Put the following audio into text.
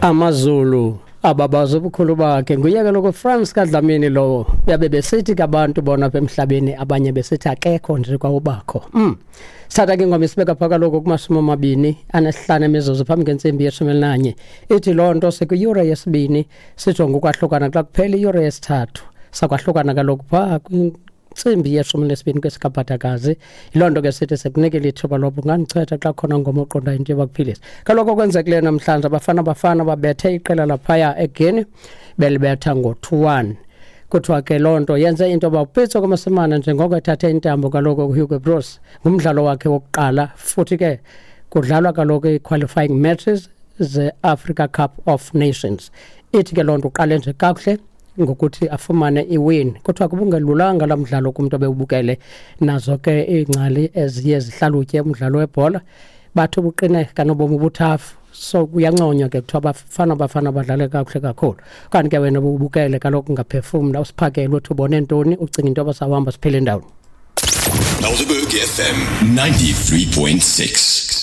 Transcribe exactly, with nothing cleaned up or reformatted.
AmaZulu ababaza ubukhulu bakhe. Nguye kaloku Frans kaDlamini lowo. Yabe besithi ke abantu bona apha emhlabeni, abanye besithi akekho nje kwawubakho. Mm. Sithatha ke ingoma isibeka phaa kaloku kumashumi amabini anesihlanu emizuzu phambi kwentsimbi yeshumi elinanye. Ithi loo nto sikwiyure yesibini, sijonge ukwahlukana xa kuphela iyure yesithathu. Sakwahlukana kaloku phaa kwintsimbi yeshumi nesibini kwesikabhadakazi. Yiloo nto ke sithi sikunikile ithuba loba ungandichwetha xa khona ngoma oqondayo into yoba kuphilisa. Kaloku okwenzekileyo namhlanje, Abafana Bafana babethe iqela laphaya eGuinea, belibetha ngo-two one. Kuthiwa ke loo nto yenze into yoba uPitso Mosimane, njengoko ethathe intambo kaloku kuHugo Broos, ngumdlalo wakhe wokuqala, futhi ke kudlalwa kaloku i-qualifying matches ze-Africa Cup of Nations. Ithi ke loo nto uqale nje kakuhle ngokuthi afumane iwin. Kuthiwa kubungelulanga laa mdlalo kumntu obewubukele. Nazo ke iingcali eziye zihlalutye umdlalo webhola bathi ubuqine kanobomi ubuthafu, so kuyanconywa ke, kuthiwa Bafana Bafana badlale kakuhle kakhulu. Kanti ke wena ububukele kaloku, ungaphefumla usiphakele uthi ubone ntoni, ucinga into yoba sawuhamba siphele ndawoni. Helderberg F M ninety-three point six.